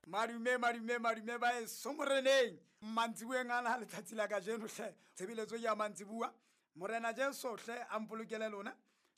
Madume, madume, madume ba eso moreneng. Mantsibueng ana letsatsi la kajeno hle, tshebeletso ya mantsibua. Morena Jesu hle a mpolokele lona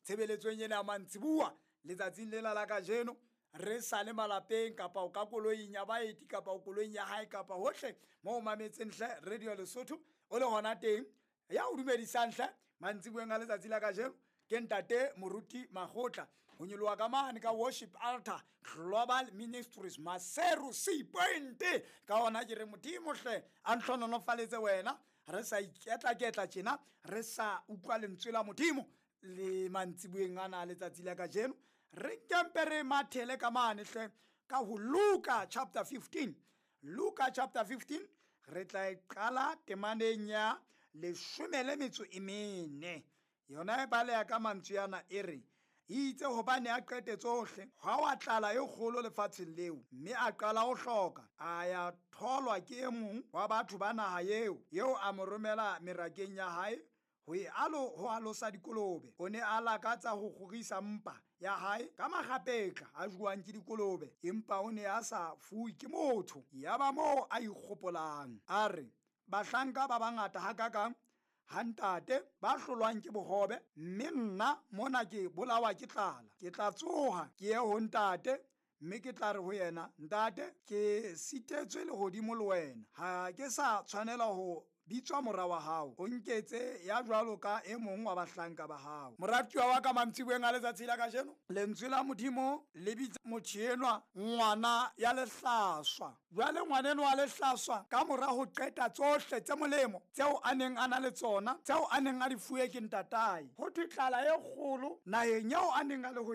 tshebeletsong ena ya mantsibua letsatsing lena la kajeno. Re sa le malapeng kapa o ka koloing ya baeti kapa o koloing ya hae kapa hohle mo o mametseng hle Radio Lesotho o le hona teng. Ya o dumedisang hle mantsibueng a letsatsi la kajeno ke ntate Moruti Makgotla ho nyoloha ka mane ka Worship Altar Global Ministries Maseru C Point. Ka hona ke re Modimo hle a ntlhonolofaletse wena, re sa iketla-ketla tjena, re sa utlwa lentswe la Modimo le mantsibueng ana a letsatsi la kajeno. Re kempe re mathele ka mane hle ka ho Luka chapter 15. Luka chapter 15 re tla e qala temaneng ya 14. Yona e baleha ka mantswe ana e re, itse hobane a qete tsohle, hwa wa tlala e kgolo lefatsheng leo, mme a qala ho hloka. A ya tholwa ke e mong wa batho ba naha eo, eo a mo romela merakeng ya hae ho e alo ho alosa dikolobe. O ne a lakatsa ho kgorisa mpa ya hae ka makgapetla a jowang ke dikolobe, empa o ne a sa fuwe ke motho. Yaba moo a ikgopolang, a re, bahlanka ba bangata hakakang ha ntate ba hlolwang ke bohobe, mme nna mona ke bolawa ke tlala. Ke tla tsoha ke ye ho ntate, mme ke tla re ho yena, ntate, ke sitetswe lehodimo le wena, ha ke sa tshwanela ho bitswa mora wa hao, o nketse ya jwalo ka e mong wa bahlanka ba hao. Moratuwa wa ka mantsibueng a letsatsi la kajeno, lentswe la Modimo le bitsa motho enwa ngwana ya lehlaswa. Jwale ngwaneno wa lehlaswa, ka mora ho qeta tsohle tse molemo tseo a neng a na le tsona, tseo a neng a di fuwe ke ntatae, ho thwe tlala e kgolo naheng eo a neng a le ho.